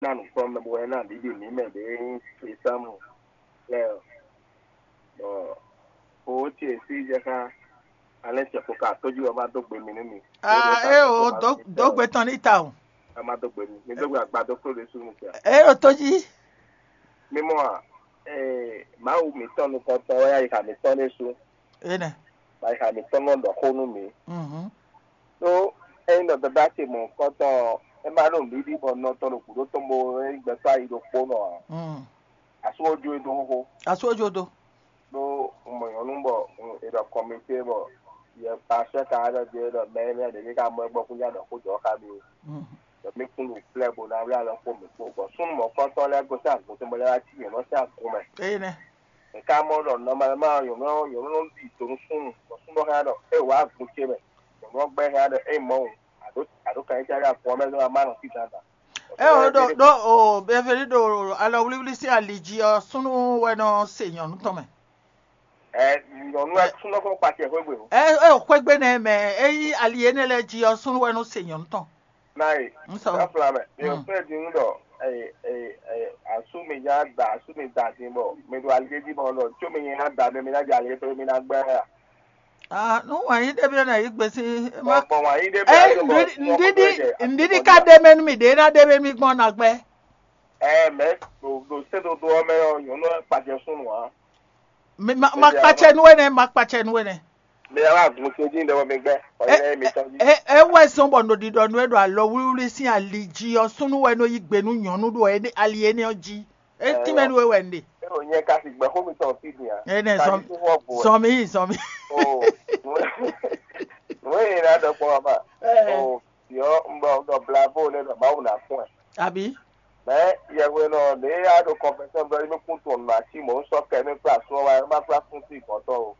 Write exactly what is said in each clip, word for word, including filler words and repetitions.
ná nǔkplɔ́nmɛ bó wɛ ná ɖiɖi mǐ mɛ ɖě nyí Krisámu lɛ́ɛ ɔ́. Bɔ owó ce sí jɛ xá alɛ́ cɛkpo ka tójú ɔ́ má dó gbe mi nú mi. Ah, é o, dó gbe tɔn ní ta o. Ɔ́ má dó gbe mi. Mi dó gbe agbadó kúrò ɖésú mi sia. É o tó jí. Mímɔ a, ee, Mawu mǐtɔn nukɔntɔn wɛ ayixa mǐtɔn ɖésú. Énɛ́. Ayixa mǐtɔn nɔ ɖɔ xó nú mǐ. Mhm. Ɖó ényí ɖɔ dada ce mɔ̌hunkɔtɔn ɔ́, é má ɖo nǔɖiɖi bɔ nɔ tɔn ɖo gǔdo tɔn bo é nyí gbɛtɔ́ ayi ɖokpónɔ ǎ. Mm. Asú ó jó e dó xóxó. Asú ó jó dó. Ɖó un mɔ nyɔ̌nu bɔ è ɖɔ kɔmité bɔ yɛ paswɛ ka ɖɔ jɛ ɖɔ mɛ énɛ́ ɖě ní ka mɔ ɛ gbɔ kún nya ɖɔ xó jɔ xá mi. Mm. Ɖɔ mí kún ɖo plɛ́ bo ná wlí alɔ kpó mǐ kpó bɔ súnnu mɔ̌kɔntɔn lɛ́ɛ gosín agun tɔn bɔ lɛ́ wá cí nyɔ̌nu ɔ́ sín agun mɛ. Énɛ́. È ká mɔ ɖɔ nɔmalɛma nyɔ̌nu ɔ́, nyɔ̌nu nɔ ɖi do nú súnnu, bɔ súnnu ɔ́ hɛn ɖɔ é wǎ agun ce mɛ. Nyɔ̌nu ɔ́ gbɛ́ hɛn ɖɔ é mɔ wǔ, àɖó àɖó kan nyí cɛ́ ɖo agun ɔ́ mɛ zɔ́n wá má nɔ fí dandan. É o ɖo ɖó o bɛveli ɖo alɔwlíwlí sín ali jí ɔ́, súnnu wɛ nɔ se nyɔ̌nu tɔn mɛ. Ɛ nyɔ̌nu wɛ súnnu ɔ́ kɔ kpa cɛ xwé gbe o. É é xwégbe nɛ mɛ, é yí ali énɛ́ lɛ́ɛ jí ɔ́, súnnu wɛ nɔ se nyɔ̌nu tɔn. Nayi, Nsɔ. Ká fla mɛ. Mi ò fẹ́ di ŋu ɖɔ asú mi nya da asú mi da din bɔ mi ɖo ali jí bɔ ɖɔ tso mi nya da mi mi ná jɛ ali tɔn mi ná gbɛ ya. Ah, nu wɛn yi ɖe bi na yi gbesi. Bɔ bɔ wa yi ɖe bi Ɛ ayo bɔ ŋɖiɖi ŋɖiɖi ŋɖiɖi ka ɖe mɛ nu mi ɖe na ɖe mɛ mi gbɔn na gbɛ. Ɛ mɛ ɖo ɖo sɛdodo ɔ́ mɛ ɔ́ nyɔ̌nu ɛ kpajɛ súnnu ǎ. Mi ma ma kpatsɛ nu wɛ nɛ ma kpatsɛ nu wɛ nɛ. Mi yà wá gun ṣe dín ɖe wɔ mi gbɛ. Ɔyɛ mi tɔn jí. Ɛ ɛ wɛ zɔn bɔ nòɖiɖɔ nu ɛ ɖo alɔ wlíwlí sín ali jí ɔ́ súnnu wɛ nɔ yí gbe nú nyɔ̌nu ɖo ali énɛ́ ɔ́ jí. É tínmɛ nú we wɛ un ɖe. Ero nyɛ ka si gbɛ xó mi tɔn fi din a. Ɛnɛ zɔn zɔn mi zɔn mi. O nue na dɔ kpɔ ma. O yɔ n bɔ n dɔ blavo ne dɔ mawu na fún ɛ. Àbí. Mɛ yɛhwe nɔ ne ya ɖo kɔnfɛsɛn bɔ mi kún tɔn nɔ asi mɔ n sɔ kɛ mi kpla sɔ wa ma kpla fún sí gɔtɔ o.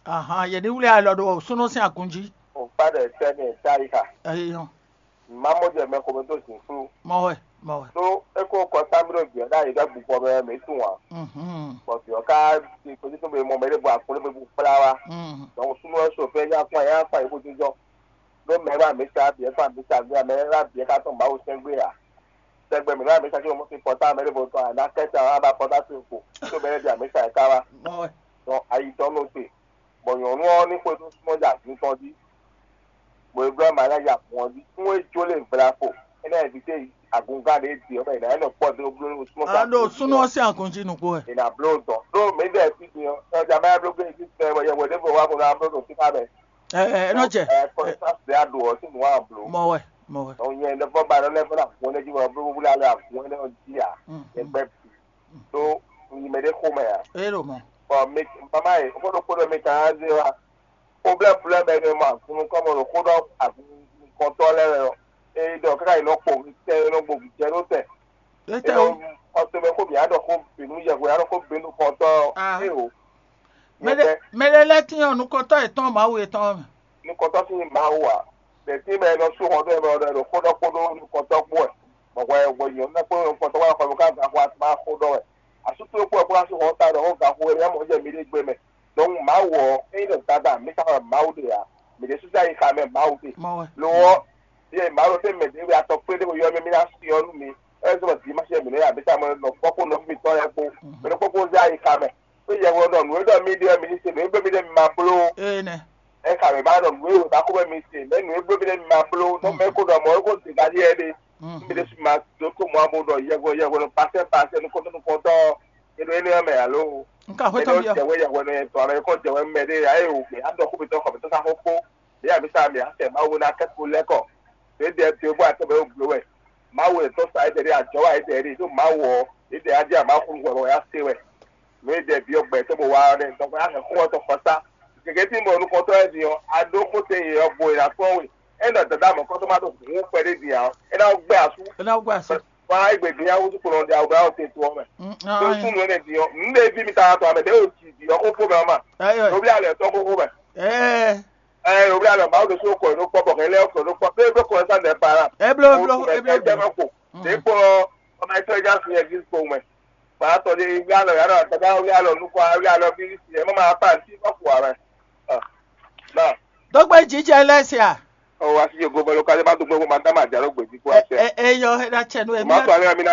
Ahan yɛ ní wúlé alɔ ɖo súnú sín agun jí. O kpa ɖe tɛ mi ta yi xa. Ɛyɔ. Má mɔ jɛ mɛ xomɛ dó zǐnflú. Mɔ wɛ, mɔ wɛ. Ɖó é kó kɔ támíɖó vǐ ɔ́ ɖ'ayǐ ɖɔ gbukɔ mɛ mǐ tunwun ǎ. Mhm. Bɔ vǐ ɔ́ ka ɖi kpéjútɔ́ be mɔ mɛ ɖé bɔ akló be bu kplá wá. Mhm. Donc súnnu ɔ́ so fɛ́ nyá kpɔ́n nyá kpɔ́n yě bó jínjɔ́n. Ɖó mɛ wá mǐ sa bǐ ɛ kpán mǐ sa gbé ǎ, mɛ wá bǐ ɛ ka tɔn Mawu sɛn gbé ǎ. Sɛgbɛ mǐ wá mǐ sa cí mɔ sín pɔtá mɛ ɖé bó tɔn ǎ, ná kɛ́ sa wá ba pɔtá to ko. Tó mɛ ɖé bǐ mǐ sa ɛ ká wá. Mɔ wɛ. Donc ayi tɔn nɔ te. Bɔ nyɔ̌nu ɔ́ ní xwedó súnmọ́ jɛ agun tɔn jí, bɔ é bló ama lɛ́ yi agun ɔ́ jí. Nú é jó lě gbla ko, é ná invité agungán ɖě ɖi ɔ́ mɛ, è nǎ nɔ kpɔ́ dó bló nú súnmọ́. A ɖo súnú ɔ́ sín agun jí nukpó wɛ. È nǎ bló dɔn. Ɖó mǐ ɖɔ fí din ɔ́, ɛ ɔ́ ja má bló gbé existe mɛ, bɔ yɛhwɛ ɖěvo wá ko ná bló ɖo fífá mɛ. Ɛ ɛ ɛ nɔ jɛ. Ɛ kɔnɛsánsi ɖé a ɖo ɔ́ sín nǔ wa bló. Mɔ wɛ, mɔ wɛ. Ɔn nyɛ ɖe fɔ ba ɖɔ lɛ́ fɔ na gun lɛ́ jí wɛ bló wúlá lɛ agun lɛ́ ɔ́ jí a. Yɛ gbɛ bǐ. Ɖó un yi mɛ ɖé xomɛ ǎ. É ɖo mɔ. Bɔ mi mama yi xó ɖokpó ɖɔ mi kan á zé wa. Problème problème ɛnɛ ma kunu kɔmɔ ɖo xó ɖɔ agunkɔtɔ lɛ wɛ ɔ. Eye ɖɔ kaka yi nɔ kpo tɛ yi nɔ gbo jɛ ɖo tɛ. Ete o. Ɔtɔ bɛ xó bia ɖɔ xó binu yɛhwe aɖɔ xó binu kɔtɔ. Ah. Eye o. Mɛɖe mɛɖe lɛ tiɲɔ nukɔtɔ etɔn mawu etɔn mɛ. Nukɔtɔ si mawu a. Bɛ ti mɛ nɔ su hɔn ɖo ɛmɛ ɔdɔ ɖo xó ɖɔ kpo ɖo nukɔtɔ kpo ɛ. Bɔbɔ ɛ wɔ nyɔ nukɔtɔ wa kɔ ka ga xɔ atuma xó ɖɔ wɛ. Asutɔ kpo ɛ kó asu hɔn ta ɖɔ xó ga xó ɛ mɔ jɛ mi ɖe gbe mɛ. Donc Mawu ɔ́, ényí ɖɔ Dadá mǐ ka xɔ Mawu ɖe ǎ, mǐ ɖésú sín ayixa mɛ Mawu ɖe. Mɔ wɛ. Lo ɔ́, yɛ Mawu ɖo tɛ́ mɛ ɖě we atɔ kpé ɖé ko yɔ mì mì ná syɔ́ nú mi, é zɔ́n dimáṣɛ mǐ nɔ ya mǐ tamɛ nɔ kpɔ́ kpó nɔví mitɔn lɛ́ɛ kpó, mǐ nɔ kpɔ́ kpó zé ayixa mɛ. Xwé yɛhwe ɔ́ ɖɔ nǔ e ɖɔ mi ɖe ɔ́ mi ní se, nǔ e bló mi ɖe mi ma bló ó. Ee nɛ. Ɛ xa mǐ ma ɖɔ nǔ e wǒ ná xó bɔ mi se, mɛ nǔ e bló mi ɖe mi ma bló, nɔ mɛ ko ɖɔ mɔ̌ é ko dě ká ɖíe ɖe. Mǐ ɖésú ma dó kó mɔ abo ɖɔ yɛhwe yɛhwe nɔ pasɛ pasɛ nukɔntɔn nukɔntɔn ɔ́, è ɖo énɛ́ ɔ́ mɛ alo? Un ka xwé tɔn byɔ́. Jɛwé yɛhwe nɔ yɛ tɔn alo kɔ jɛwé mɛ ɖé ya e wò gbé adɔ xó mitɔn xɔ mitɔn ká xó kpó. Ɖé ya mi sa mi asɛ Mawu ná kɛ ko lɛ́ kɔ. Ɖě dɛ dě bɔ atɔ bɛ wó gbé wɛ. Mawu e tɔ́ sa édɛ ɖé ajɔ wa édɛ ɖé ɖó Mawu ɔ́, édɛ adé a Mawu xú wɛ wɛ ya se wɛ. Nǔ e dɛ byɔ́ gbɛ tó bó wá ɔ́ nɛ́, dɔnku a hɛn xó ɔ́ tɔn xɔ sá. Gěgé tí mo nukɔntɔn lɛ́ɛ din ɔ́, a ɖó xó tɛn yě ɔ́ bo è nǎ kpɔ́n we. É nɔ dada mɔ̌kɔtɔn ma ɖo hǔn kpɛɖé din ǎ ɔ́, é ná gbɛ́ asú. É ná gbɛ́ asú. Bɔ a yi gbe din ya wútu kplɔn ɖe awu bɛ awo te to ɔ́ mɛ. Tó súnnu énɛ́ din ɔ́, nǔ ɖé ví mi ta tɔn amɛ ɖé o jǐ din ɔ́ xó fó mɛ ɔ́ ma. Ɖo bí alɛ tɔn xóxó mɛ. Ɛɛ. Ɛ ɖo bí alɛ Mawu ɖésú kɔ ɖó kpɔ bɔ hɛn lɛ kɔ ɖó kpɔ pé bɛ kɔ sa nɛ para. Ɛ blo blo ɛ blo blo. Ɖe kpɔ ɔmɛ tɔ ja fi ɛgis ko mɛ. Ba tɔ de wi alɔ yàrá dada wi alɔ nukɔ wi alɔ bí si ɛ mɔ ma pa si kɔ kɔ amɛ. Na. Dɔgbe jijɛ lɛ sia. Ɔ, asi yo go bɔ lo ka de ba do gbogbo ma da ma ja lo gbedi ko ase. Eyɔ, é ɖa tsɛ nú Ma emi. to ale mi na